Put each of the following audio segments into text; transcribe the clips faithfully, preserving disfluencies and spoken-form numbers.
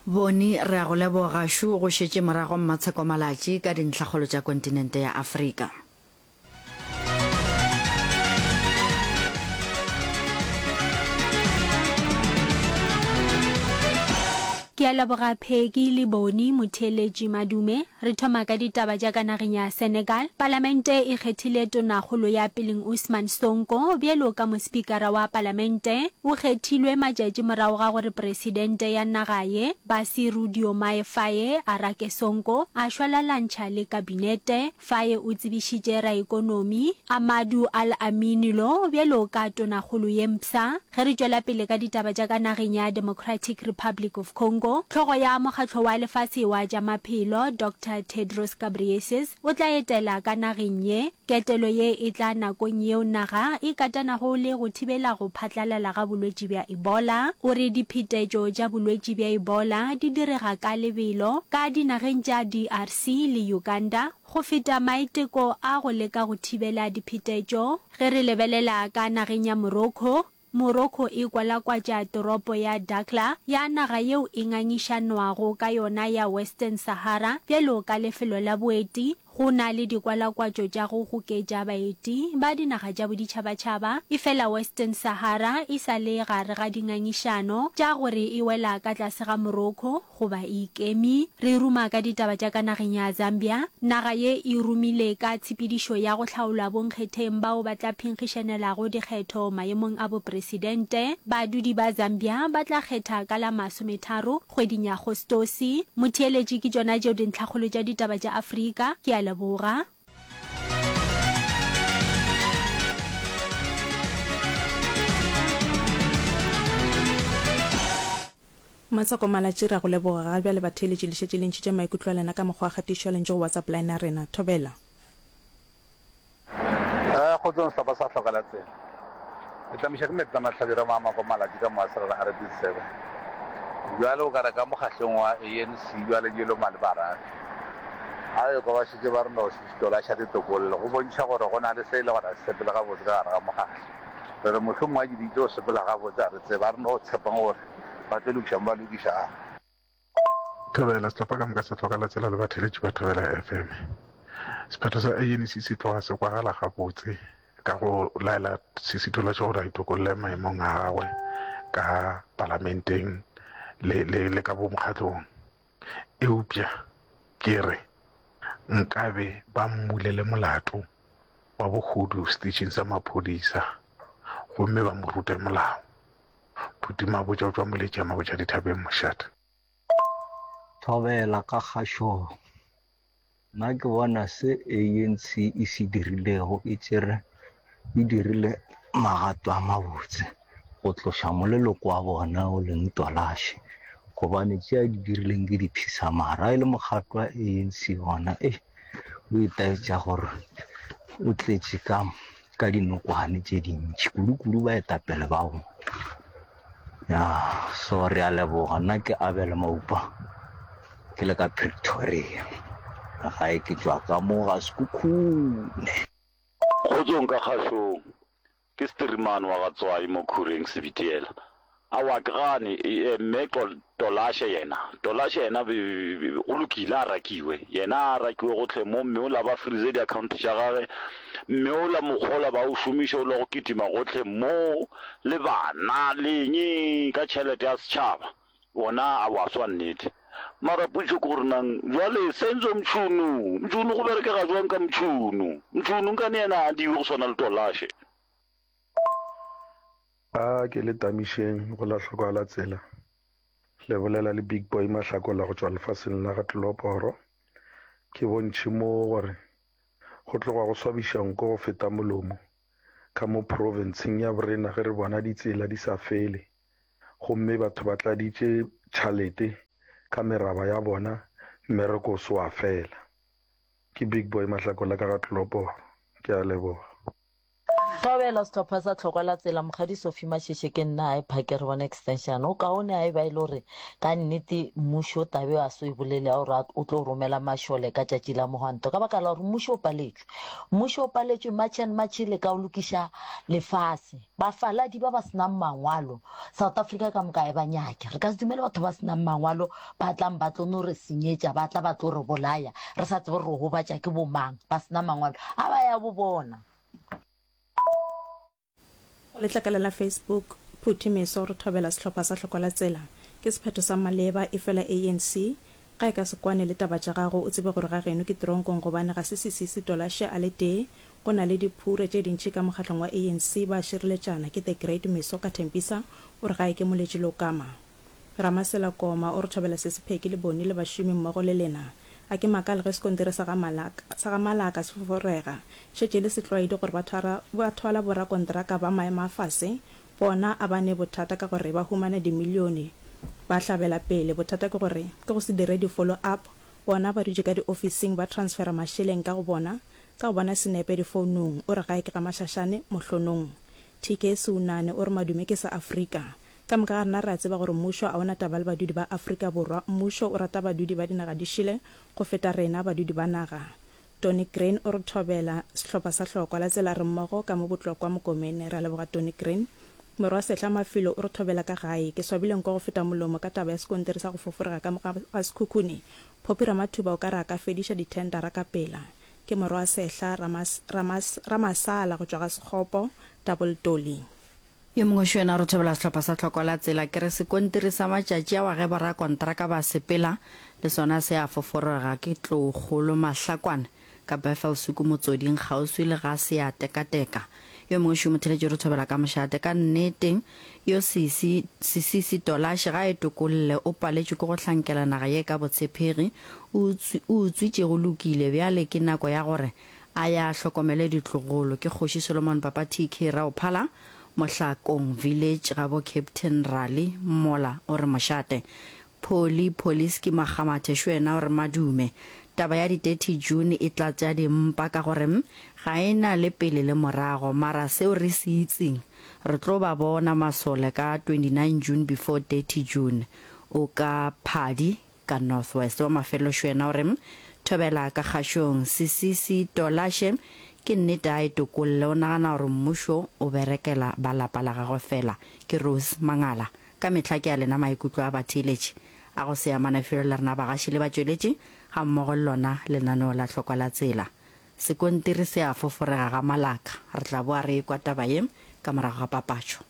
Boni, re a go leboga. Šo go šetše morago Mmatsheko Malatji ka dintlhakgolo tša kontinente ya Afrika. Ke a leboga Peggy le Boni, motheeletši Madume. Re thoma ka ditaba tša ka nageng ya Senegal. Palamente e kgethile Tonakgolo ya peleng Ousmane Sonko bjalo ka mospikara wa palamente. O kgethilwe matšatši morago ga gore presidente ya naga ye, Bassirou Diomaye Faye a rake Sonko a šwalalantšha le kabinete. Faye o tsebišitše raekonomi, Amadou Al Amine Lo bjalo ka tonakgolo ye mpsha. Ge re tšwela pele ka ditaba tša ka nageng ya Democratic Republic of Congo, hlogo ya Mokgatlo wa Lefase wa tša Maphelo, Doctor Tedros Ghebreyesus, o tla etela ka nageng ye. Ketelo ye e tla nakong yeo naga e katanago le go thibela go phatlalala ga bolwetši bja Ebola. O re diphetetšo tša bolwetši bja Ebola di direga ka lebelo ka dinageng tša D R C le Uganda go feta maiteko a go leka go thibela diphetetšo. Ge re lebelela ka nageng ya Morocco, Morocco e kwalakwatša toropo ya Dakhla ya naga yeo e ngangišanwago ka yona ya Western Sahara bjalo ka lefelo la boeti. Go na le dikwalakwatšo tša go goketša baeti ba dinaga tša boditšhabatšhaba, efela Western Sahara e sa le gare ga dingangišano tša gore e wela ka tlase ga Morocco goba e ikeme. Re ruma ka ditaba tša ka nageng ya Zambia. Naga ye e rumile ka tshepedišo ya go hlaolwa bonkgetheng bao ba tla phenkgišanelago dikgetho maemong a bopresidente. Badudi ba Zambia ba tla kgetha ka la masometharo kgweding ya Agostose. Motheeletši, ke tšona tšeo dintlhakgolo tša ditaba tša Afrika. Ke a leboga. Matsoko Malatji, Re a go leboga. Ga bjale batheeletši le šetše le ntšhitše maikutlo a lena ka mokgwa wa kgatišo ya lentšu go WhatsApp line ya rena. Thobela. Eh, kgotsong sehlopha sa Hlokela Tsela. Le tlamiša ke meetse a mahlabirwa Maamako Malatji ka moaserara a re disebe. Bjale o ka re ka mokgahlong wa A N C bjale di loma le barafi. A ekwa ba šetše ba re no Tolasha ditokollo go bontšha gore go na le se e le gore a se sepele gabotse ka gare ga mokgahlo. Re re mohlomongwe a di tlo sepela gabotse a re tsebe, a re no tshepang gore ba tlo lokiša mo ba lokišago. Thobela, sehlopha ka moka sa Hlokela Tsela le batheeletši ba Thobela F M. Sephetho sa A N C se tloga se kwagala gabotse ka go laela Sisi Tolashe gore a itokolle maemong a gagwe ka palamenteng le, le, le ka bomokgatlong. Eupša ke re nkabe ba mmulele molato wa bohodu seteišeng sa maphodisa gomme ba mo rute molao. Phuti Mabotja o tšwa Moletši ya Mabotja dithabeng mošate. Thobela ka kgašo. Nna ke bona se A N C e se dirilego e tšere e dirile magato a mabotse go tloša moleloko wa bona o leng Tolashe, gobane tše a di dirileng ke diphisamara. E le mokgatlo wa A N C gona e o itaetša gore o tletše ka, ka dinokwane tše dintši, kudu-kudu baetapele ba bona. Ya, so re a leboga. Nna ke Abel Maupa, ke le ka Pretoria. Gae ke tšwa ka mo ga Sekhukhune. Kgotsong ka kgašong, ke Sterimane wa Gatswai mo Khureng Sebitiela. Aowa ke gane, e, mme Tolashe yena, Tolashe yena go lokile a rakiwe, yena a rakiwe gohle mo, mme o la ba freeze di-account tša gage, mme o la mokgola ba o šomiša o la go kitima gohle mo le bana le eng ka tšhelete ya setšhaba, ona a wa swa nnete. Mara potšo ke gore nang jwale Senzo Mchunu, Mchunu go berekega jwang ka Mchunu? Mchunu nkane yena a diwe go swana le Tolashe. A ke le tamišeng go la hlokwa la tsela. Le bolela le Big Boy Mahlakola go tšwa lefaseng la ga Tleloporo. Ke bontšhe mo gore go tloga go swabiša nko go feta molomo ka mo provinceng ya borena ge re bona ditsela di sa fele gomme batho ba tladitše tšhalete ka meraba ya bona mmereko o se wa fela. Ke Big Boy Mahlakola ka ga Tleloporo. Ke a leboga. Thobela sehlopha sa Tlhokwa la Tsela, Mokgadi Sophie Masheshe ke nna a e phake re bone extension. O kaone a e ba e le gore ka nnete mmušo tabe a so e bolele ya gore o tlo romela mašole ka tšatši la mohwanto ka baka la gore mmušo o paletšwe. Mmušo o paletšwe March and March le ka o lokiša lefase. Bafaladi ba ba senang mangwalo South Africa ka moka e ba nyake. Re ka se dumele batho ba senang mangwalo ba tlang ba tlo no re senyetša, ba tla ba tlo re bolaya re sa tsebe gore re gobatša ke bomang ba sena mangwalo a ba ya bo bona. Go letlakala la Facebook, Phuthi Meso re thobela sehlopha sa Hlokwa la Tsela. Ke sephetho sa maleba, efela ANC ga e ka se kwane le taba tša gago, o tsebe gore ga geno ke tronkong gobane ga se Sisisi Tolashe a le tee, go na le diphure tše dintši ka mokgatlong wa ANC ba šireletšana, ke The Great Meso ka Tembisa o re gae ke Moletši Lokama. Ramasela Koma o re thobela Sesi Pheki le Boni le bašomi mmogo le lena. A ke makale ge sekontiri sa ga Malaka, sa ga Malaka se foforega. Šetše e le setlwaedi gore ba thwara, ba thwala borakontraka ba maemo a fase. Bona a ba ne bothata ka gore ba humana dimilione. Ba hlabela pele. Bothata ke gore ke go se dire di-follow up. Bona ba dutše ka diofising ba transfera mašeleng ka go bona, ka go bona senepe difounung. O re gae ke ga Mašašane, Mohlonong. T K Seunane o re madume ke sa Afrika. Ka moka ga rena re a tseba gore mmušo a o na taba le badudi ba Afrika Borwa. Mmušo o rata badudi ba dinaga di šele go feta rena badudi ba naga. Tony Green o re thobela sehlopha sa Hlokwa la Tsela re mmogo ka mo Botlokwa Mokomene. Re a leboga Tony Green. Morwa Sehla Mafilo o re thobela ka gae. Ke swabile nko go feta molomo ka taba ya sekontiri sa go foforega ka mo ga ga Sekhukhune. Phophi Ramathuba o ka re a ka fediša dithendara ka pela. Ke morwa Sehla Ramas, Ramas, Ramasala go tšwa ga Sekgopo, Double Dolly. Yo mongwe šo yena o re thobela sehlopha sa Tlhoko la Tsela. Ke re sekontiri sa matšatši awa ge borakontraka ba sepela le sona se a foforega. Ke Tloukgolo Mahlakwane ka Bethelshoek Motsoding kgauswi le ga Seatekateka. Yo mongwe šo motheletši o re thobela ka mošate. Ka nnete yo Sisi, Sisisi Tolashe ga a e tokolle o paletšwe ke go hlankela naga ye ka botshepegi. O utswi, o utswitše go lokile bjale ke nako ya gore a ya hlokomele ditlogolo. Ke Kgoši Solomon Papa T K Raophala Mohlakong Village gabo Captain Rally mola o re mošate. Polly Poliski Makgamathe šo yena o re madume. Taba ya di thirty June e tlatša dimpa ka gore ga e na le pele le morago mara seo re se itseng re tlo ba bona masole ka twenty nine June before thirty June. O ka Phadi ka North West. Wa mafelelo šo yena o re thobela ka kgašong Sisisi Tolashe ke nnete a e tokolle o nagana gore mmušo o berekela ba lapa la gagwe fela. Ke Rose Mangala. Ka mehla ke a lena maikutlo a batheeletši a go se amane felo le rena bagaši le batšweletši gammogo le lona lenaneo la Hlokwa la Tsela. Sekontiri se a foforega ga Malaka. Re tla boa re ekwa taba ye ka morago ga papatšo.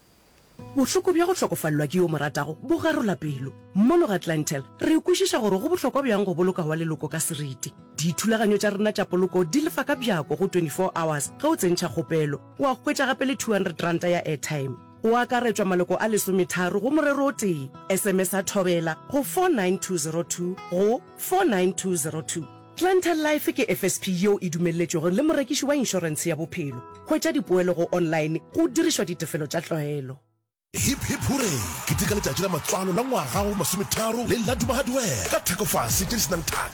Bohloko bja go hlokofalelwa ke yo o mo ratago bo garola pelo. Mono ga Clientele, re kwešiša gore go bohlokwa bjang go boloka wa leloko ka seriti. Dithulaganyo tša rena tša poloko di lefa ka bjako go twenty four hours ge o tsentšha kgopelo. Wa hwetša gape le two hundred ranta ya airtime. Go akaretšwa maloko a lesometharo go morero o tee. S M S a Thobela go four nine two zero two go four nine two zero two. Clientele Life ke F S P yeo e dumelletšwego le morekiši wa inšorentshe ya bophelo. Hwetša dipoelo go online go dirišwa ditefelo tša tlwaelo. Hip hip hurray! Keteka letšatši la matswalo la ngwaga wa masometharo le Laduma Hardware ka thekofase tše di se nang thaka.